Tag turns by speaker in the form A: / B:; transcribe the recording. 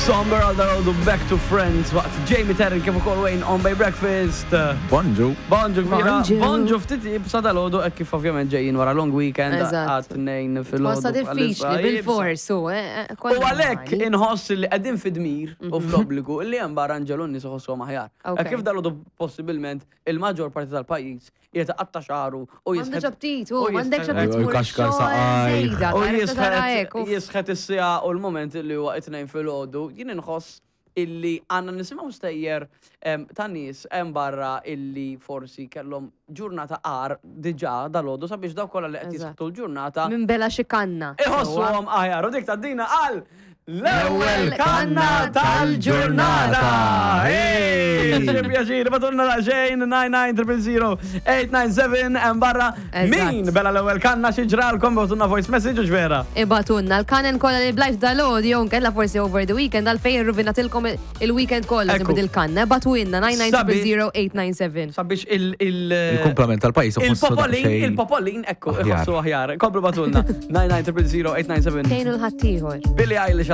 A: Somber għal dal-għodu Back to Friends waqt Jamie Terry kif ukoll Wayne on by Breakfast.
B: Bonġu.
A: Bonġu kbira.
C: Bonġu.
A: Bonġu ftit ibsa dal-għodu hekk kif ovvjament ġejjin wara long weekend
C: Eżatt.
A: għat-tnejn fil-għodu.
C: Tħossha diffiċli
A: bħalissa
C: bil-fors u eh, eh,
A: U
C: kollha
A: għalhekk
C: normali.
A: inħoss li qegħdin fi dmir u fl-obbligu li hemm barra nġelu n-nies iħossuhom aħjar.
C: Ok.
A: Hekk kif dal-għodu possibilment il-maġġor parti tal-pajjiż qiegħed iqatta' xagħru u
C: M'għandux
A: jisħet
C: aptit, u
A: u
C: m'għandekx
A: jisħet-
C: aptit
B: U
C: tmur
B: jkaxkar
C: ix-xogħol
B: saqajk.
C: żejda,
A: U
C: tara tara
A: jisħet
C: hekk, uff.
A: jisħet is-siegħa u l-moment li huwa it-tnejn filgħodu, jien inħoss illi għandna nisimgħu stejjer em, ta' nies hemm barra illi forsi kellhom ġurnata għar diġà dalgħodu sabiex dawk kollha li qed
C: Eżatt.
A: jisħtu l-ġurnata
C: Minn bela xi kanna. sewwa.
A: iħossuhom aħjar. U dik tgħaddina għal l-ewwel
C: L-ewwel
A: kanna tal-ġurnata.
B: Hey!
A: Xi pjaċir, batunna daqsxejn 9900 897 hemm barra
C: Eżatt.
A: min bela l-ewwel kanna xi ġralkom batunna voice message u ġvera.
C: Ibatunna l-kanen kolla li blajt dal-għodu, jew nkella forsi over the weekend, għalfejn ruvinatilkom il-weekend kollha
A: Ekku.
C: tibid il-kanna. Ibatuinna 9900
A: Sabiex il- il-
B: Il-kumplament tal-pajjiż iħossu
A: Il-popolin,
B: daqsxejn
A: il-popolin, ekku,
B: aħjar.
A: iħossu aħjar. Komplu batunna 9900 897
C: Tejnu l-ħaddieħor.
A: Billie Eilish.